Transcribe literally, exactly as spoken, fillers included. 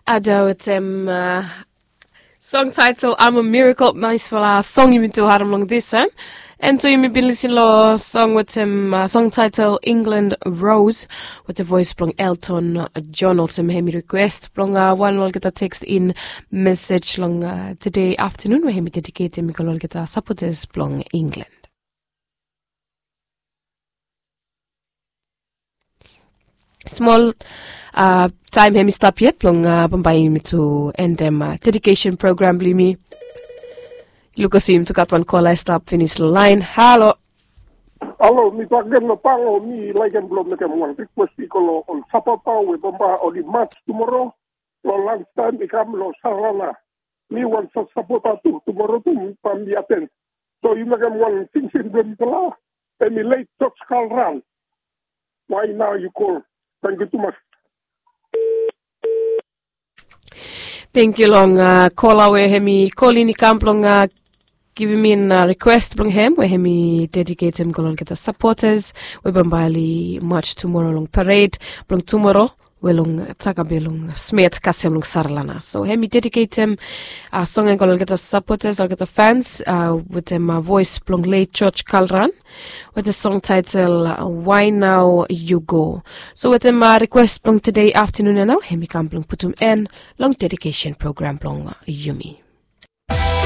Ada wetem song title I'm a Miracle, naispela song yumi tu harim long this time. And tu yumi bin lisin long song wetem song title England Rose wetem voice blong Elton John, olsem hemi request blong wan olgeta text in message long today afternoon we hemi dedicate hemi go long olgeta supporters blong England. Smol taem hemi stap yet blong bambae yumi tu endem dedication program blong yumi. Luk olsem yumi tu gat wan kola i stap finis long laen. Halo. Halo, mi bakegen long Pango. Mi laekem blong mekem wan rikwes i go long ol sapota we bambae oli mats tumoro long lanstaem i kam long Saralana. Mi wan sapota tu, tumoro tu bambae mi aten. So yu mekem wan tingting blong mifala. Hemi leit George Kalran. Why now you call? Tangkiu tumas. Tangkiu long kola we hemi kolin i kam blong givim in rikwes blong hem we hemi dediketem go long olgeta supporters we bambae oli mats tumoro long parade blong tumoro we long Takabe long Smet kasem long Saralana. So hemi dediketem song ya go long olgeta supporters, olgeta fans wetem voes blong late George Kalran wetem song taetel Why Now You Go. So wetem rikwes blong tede aftanun ya nao hemi kam blong putum en long dedikesen program blong yumi.